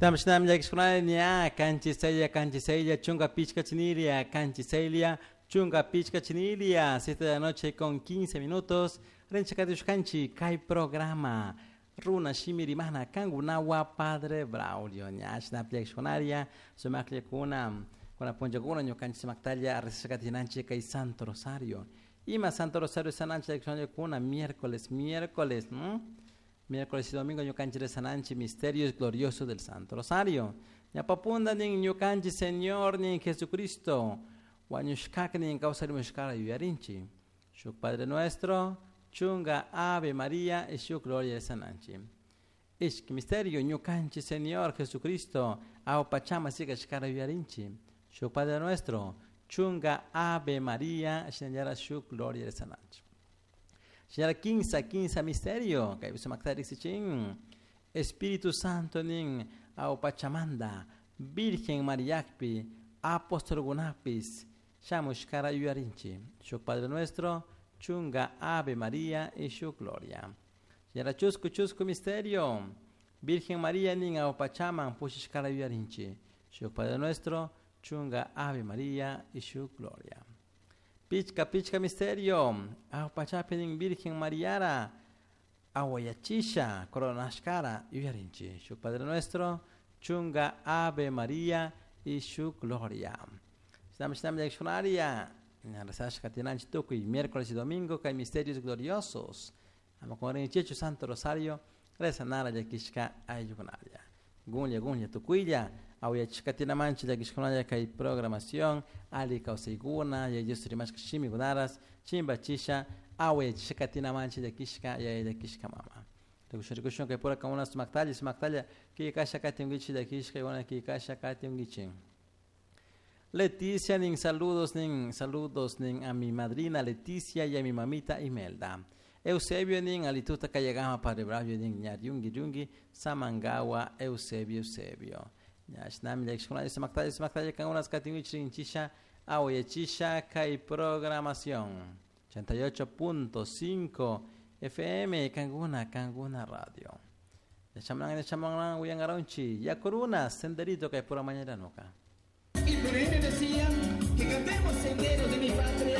Tamshnam llakishkunalla 6:06 chunka pichka chinilia, 6 chunka pichka chinilia, 7 de la noche con 15 minutos. Rinchakatushkanchi kay programa Runa Shimi Rimana Kangunawa Padre Braulio. Ñashna llakishkunaria sumakllakuna kuna punllakuna ñukanchik sumaktalla rezashkatinanchik kay Santo Rosario. Ima Santo Rosario sananchik llakishkunallakuna miércoles, miércoles, ¿no? Miércoles y domingo ñukanchik rezananchik misterios gloriosos del Santo Rosario. Ñapapunda nin ñukanchik Señor nin Jesucristo wañushkak nin kawsarimushkara yuyarinchik. Shuk Padre Nuestro, chunga Ave María y shuk Gloria rezananchik. Ishki misterio ñukanchik Señor Jesucristo awpachama sikashkara yuyarinchik. Shuk Padre Nuestro, chunga Ave María, shinallara shuk Gloria rezananchik. Señora 15 misterio, kay sumaktari sichin. Espíritu Santo nin awpachamanda, Virgen Mariakpi, apostolgunapis, shamushkara yuyarinchi. Shuk Padre Nuestro, chunga Ave María y shuk Gloria. Señora chusku chusku misterio, Virgen María nin awpachaman pushishkara yuyarinchi. Shuk Padre Nuestro, chunga Ave María y shuk Gloria. Pichka pichka misterio, awpachapi nin Virgen Mariara, awayachisha, coronashkara yuyarinchi. Shuk Padre Nuestro, chunga Ave María y shuk Gloria. Shnam shnam llakishkunaria, rezashka tinanchi tukuy miércoles y domingo kay misterios gloriosos. Ama kunrinchichu Santo Rosario, rezanara llakishka ayllukunaria. Gunlla gunlla tukuylla, awayachishka tinamanchi llakishkunalla kay programación, ali kawsaykuna, yaya Dios rimashka shimikunaras, chimbachisha, awayachishka tinamanchi llakishka, yaya llakishka mama. Rikushun rikushun kay pura kamuna sumaktalla, sumaktalla, kikasha katinkichi llakishka, iguana kikasha katinkichi. Leticia nin saludos nin a mi madrina Leticia y a mi mamita Imelda. Eusebio nin alituta kayagama Padre Braulio nin ñar yungi yungi Samangawa Eusebio Eusebio. Ñashnami llakishkunalla sumaktalla sumaktalla kangunas katinkichi rinchisha awayachisha kay programación 88.5 FM Kanguna Kanguna Radio. Yachamlan yachamlan uyangaronchi Yakuruna senderito kay pura mañana nuka. Y por ende decían que cantemos sendero de mi patria.